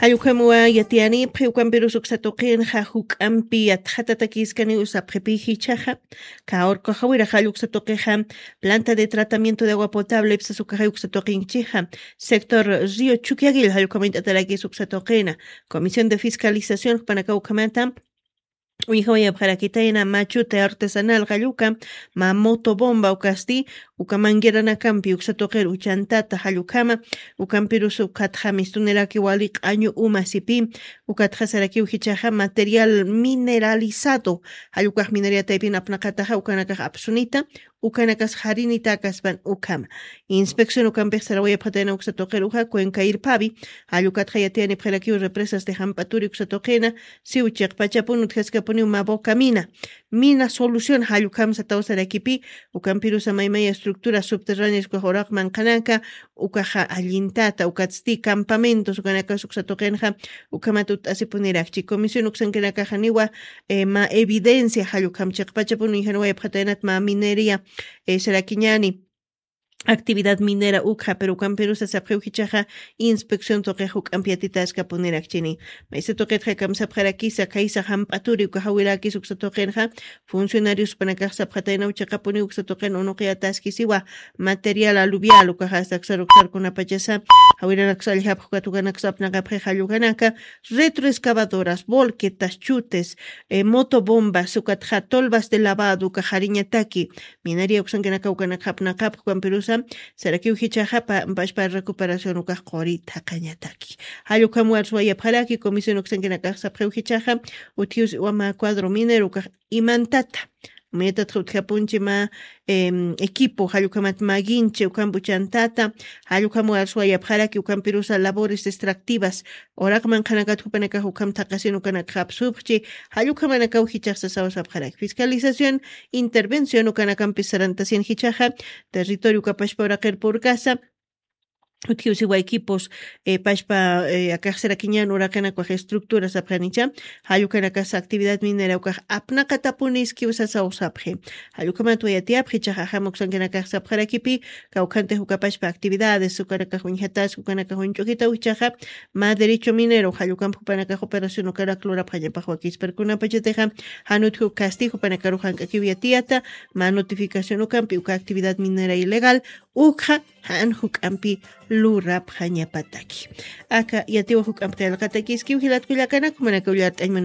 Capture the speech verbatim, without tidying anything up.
Jallukhamwa yatiyanipxi ukampirus uksatuqinxa juk'ampi yatxatatakiskaniw sapxipijichaxa. Kaurkajawirax jalluksa tuqixa planta de tratamiento de agua potable ipsas ukaxay uksatuqinchixa. Sector río chukiagil jallukhamint'atarakis uksatuqina. Comisión de fiscalización jupanaka ukhamata uyjawayapxarakitayna machuta artesanal jalluka, ma motobomba ukasti uka mangueranakampi uksatuqir uchantata jallukama. Ukampirus ukatxa mistuniraki wali q'añu uma sipi. Ukatxa sarakiw jichaxa material mineralizado jallukax minariataypin apnaqataxa ukanakax apsunita. Ukanakas jarinita akaspan ukhama. Inspección ukampix sarawayapxatayna uksatuqir uja cuenca irpavi. Jallukatxa yatiyanipxirakiw represas de jamp'aturi uksatuqina. Siw chiqpachapun utjaskapuniw ma bocamina. Mina solución jallukhamsa tawsarakipi. Ukampirusa maymaya estructura subterránea ukax uraq manqhanaka ukaxa allintata ukatsti campamentos ukanakas uksatuqinxa. Ukhamat utt'asipunirakchi comisión uksankinakaxaniwa. Ma evidencia jallukhamchiqpachapuni janwayapxataynat ma minería sarakiñani. Actividad minera ukxa pero ukampirusa sapxiw jichaxa inspección tuqix juk'ampi yatitaskapunirakchini. Maysa tuqitxa kamsapxarakisa khaysa jamp'aturi uka jawirakis uksa tuqinxa. Funcionarios panakax sapxataynaw chiqapuniw uksa tuqin unuqiyataskisiwa. Material aluvial ukaxasta ksar uksarkunapachasa jawiranaksallxapxukat ukanaksa apnaqapxi jallukanaka. Retroexcavadoras volquetas chutes motobombas ukatxa tolvas de lavado ukaxariñataki. Minaria uksankinaka ukanakxapnaqapx ukampirusa sarakiw jichaxa pashpa recuperación ukax quri thaqañataki. Jallukhamwar suwayapxaraki comisión uksankinakax sapxiw jichaxa. Utjiws iwama cuadro minero ukax imantata. Umayatatxa utjapunchi ma equipo jallukhamat maginchi ukampi uchantata. Jallukhamwar suwayapxaraki ukampirusa labores extractivas uraq manqhanakat jupanakax ukham thaqasin ukanakxapsupxchi. Jallukhamanakaw jichaxsasaw sapxaraki fiscalización intervención ukanakampi sarantasin jichaxa. Territorio ukapashpa uraqir purkasa utjiwsiwa equipos pashpa akaxsirakiñan uraqinakwax estructura sapxanicha. Jallukanakas actividad minera ukax apnaqatapuniskiw sasaw sapxi. Jallukhamat wayatiyapxi ichaxa jam uksankinakax sapxarakipi kawkhantix ukapashpa actividades ukanakax uñjatas ukanakax uñch'ukitaw ichaxa. Ma derecho minero jallukampi jupanakax operación ukarak lurapxañapax wakisparkunapachatixa. Jan utji ukasti jupanakaru jank'akiw yatiyata ma notificación ukampi uka actividad minera ilegal ukxa jan juk'ampi lurapxañapataki. Aka yatiwa juk'ampi qillqatakiskiw jilatkullakanak jumanakaw llart'añman.